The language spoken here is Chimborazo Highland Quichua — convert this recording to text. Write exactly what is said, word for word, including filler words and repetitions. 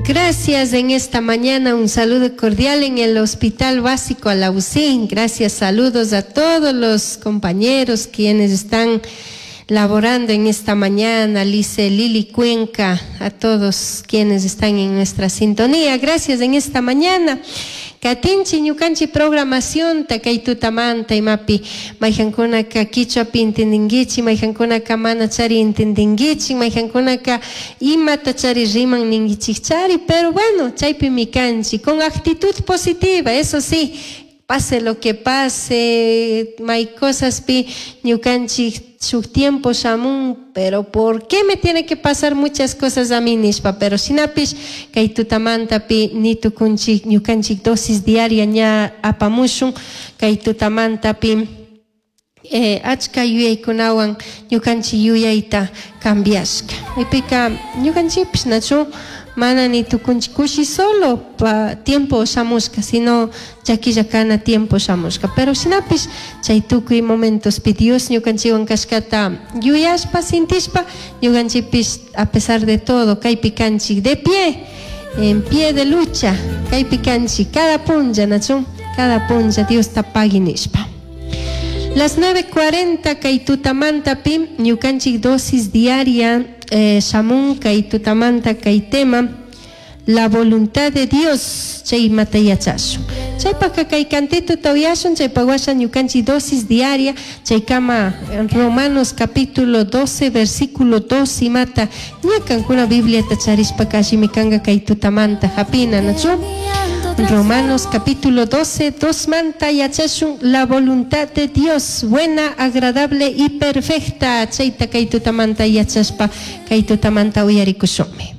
Gracias en esta mañana, un saludo cordial en el Hospital Básico Alaucín. Gracias, saludos a todos los compañeros quienes están laborando en esta mañana, Lice, Lili Cuenca, a todos quienes están en nuestra sintonía. Gracias en esta mañana. Katinchi ñukanchi programación kay tutamanta imapi mayqankunaka kichwapi entendinkichik mayqankunaka mana chari entendinkichik mayqankunaka imata chari riman ninkichik pero bueno chaypimi kanchik con actitud positiva, eso sí, pase lo que pase, may cosaspi ñukanchik shuk tiempo shamun, pero ¿por qué me tiene que pasar muchas cosas a mí nishpa? Pero shinapish kay tutamantapi ni tukunchik ñukanchik dosis diaria ña apamushun kay tutamantapi eh, achka yuyaykunawan ñukanchik yuyayta cambiashka. Maypika ñukanchikpish nachu mana ni tukunchik kushi solo pa tiempo shamushka, sino llaquilla kana tiempo shamushka. Pero shinapish chay tukuy momentospi Dios ñukanchikwan kashkata yuyashpa sintishpa ñukanchikpish a pesar de todo kaypi kanchik de pie, en pie de lucha, kaypi kanchik cada punlla nachu, cada punlla Diosta pagui nishpa. Las nueve cuarenta kay tutamantapi ñukanchik dosis diaria eh, shamun kay tutamanta kay tema la voluntad de Dios chaymata yachashun. Chaypaka kay cantituta uyashun, chaypak washa ñukanchik dosis diaria chaykama Romanos capítulo doce versículo dos imata ña kankuna Bibliata charishpaka allimi kanka kay tutamanta hapina nachu. Romanos capítulo doce, dos manta yachashun la voluntad de Dios, buena, agradable y perfecta. Chayta kay tutamanta yachashpa kay tutamanta uyarikushunmi.